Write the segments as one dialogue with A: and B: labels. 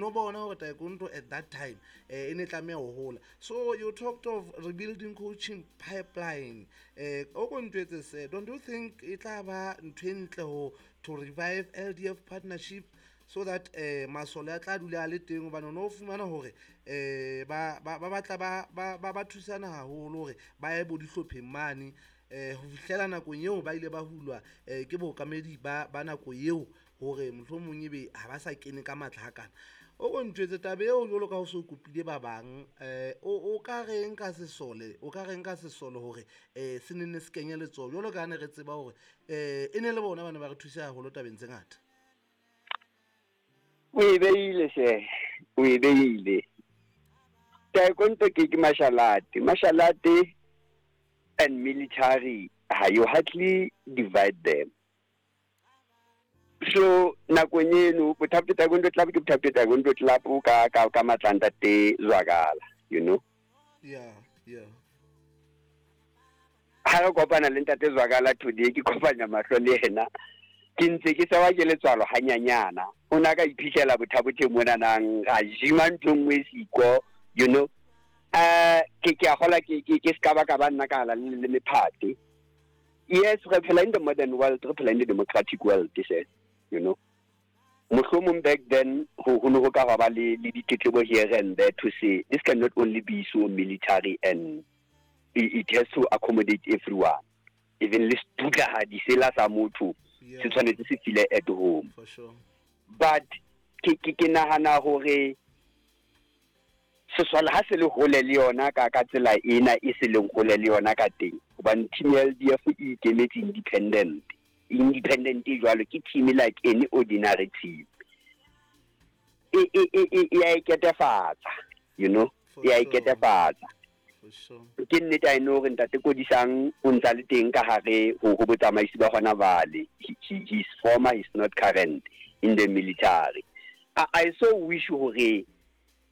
A: no bona hore taekwondo at that time e ne tlameha ho hola. So you talked of rebuilding coaching pipeline. O ko ntjwetse se, don't you think e tla ba ntho e ntle ho to revive LDF partnership so that masole a tla dula a le teng, hobane o no fumana hore ba batla ba thusana haholo hore ba ye bo dihlopheng mane ho fihlela nakong eo ba ile ba hulwa ke bookamedi ba nako eo, hore mohlomong ebe ha ba sa kene ka matla hakana. O ko ntjwetse taba eo jwalo ka ho so kopile ba bang, o ka reng ka sesole, o ka reng ka sesole hore se nenne se kenye letsoho, jwalo ka ha ne re tseba hore e ne le bona ba ne ba re thusa haholo tabeng tse ngata?
B: O e beile se, o e beile. Taekwondo ke martial art. Martial art and military, ha you hardly divide them. So nakong eno Bothapo Taekwondo Club ke Bothapo Taekwondo Club ka matla ntate Zwakala. Ha re kopana le ntate Zwakala today, ke kopanya mahlo le yena, ke ntse ke tsewa ke letswalo hanyanyana. O na ka iphitlhela Bothabothe monanang a jima ntho e nngwe siko. Ke a gola ke ska ba ka ba nna ka ala le mephate. Yes, re phela in the modern world, re phela in the democratic world se. Mohlomong back then ho ne ho ka ba le ditletlebo here and there to say this cannot only be so military and it has to accommodate everyone. Even le setutlahadi sela sa motho se tshwanetse se feel at home.
A: For sure.
B: But ke nahana hore sesole ha se le hole le yona ka tsela ena e se leng hole le yona ka teng, hobane team ya LDF e ikemetse independent. Independent e jwalo ke team like any ordinary team. E ya iketefatsa.
A: For
B: E ya
A: sure.
B: iketefatsa.
A: For sure.
B: Ke nnete, I know hore ntate Kodisang o ntsa le teng ka hare ho botsamaisi ba hona jwale. He's former, he's not current in the military. I so wish hore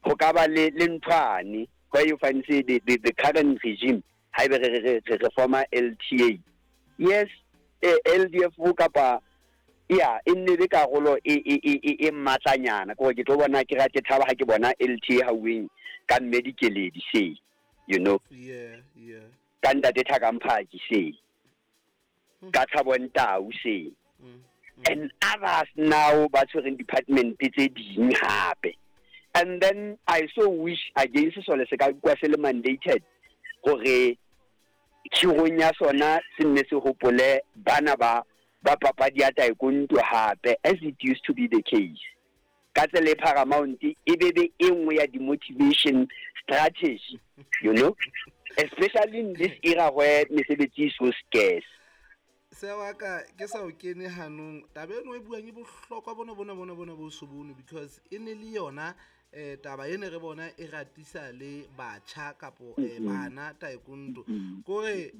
B: ho ka ba le nthwane where you find, say, the current regime, haebe re former LTA, yes, LDF kapa ya e nne le karolo e matlanyana, ke gore ke tlo bona ke ra ke thaba ha ke bona LTA hauweng ka mme Dikeledi se, ka ntate Thakamphaji se, ka Thabo Ntau se, and others now ba tshwereng department tse ding hape. And then I so wish again sesole se ka kwa se le mandated hore khirong ya sona se nne se hopole bana ba papadi ya taekwondo hape, as it used to be the case ka tsela e paramount, e be e nngwe ya di-motivation strategy, especially in this era where mesebetsi e so scarce.
A: Se wa ka ke sa o kene hanong, taba eno e buang e bohlokwa bona bo so bone, because e ne le yona taba e ne re bona e ratisa le batjha kapo bana taekwondo. Kore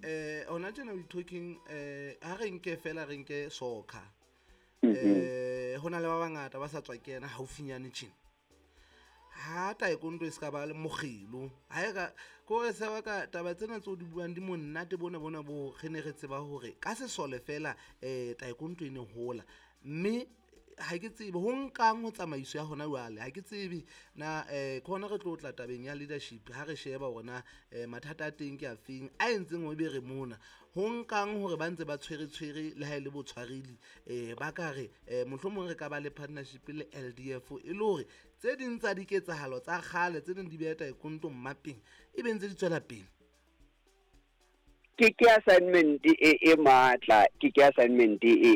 A: hona tjena we talking, ha re nke fela, re nke soccer, hona le ba bangata ba sa tswa kena haufinyane tjena. Ha taekwondo e ska ba le mokgelo ha e ka kore se wa ka taba tsena tseo di buang di monate bona bo re ne re tseba hore ka sesole fela taekwondo e ne hola, mme ha ke tsebe ho nkang ho tsamaiso ya hona jwale. Ha ke tsebe na ke hona re tlo tla tabeng ya leadership, ha re sheba hore na mathata a teng ke a feng a entseng hore ebe re mona, ho nkang hore ba ntse ba tshwere tshwere le ha e le botshwareli, ba ka re mohlomong re ka ba le partnership le LDF, e le hore tse ding tsa diketsahalo tsa kgale tse ding di beha taekwondo mmapeng, e be ntse di tswela pele.
B: Ke assignment e matla, ke assignment e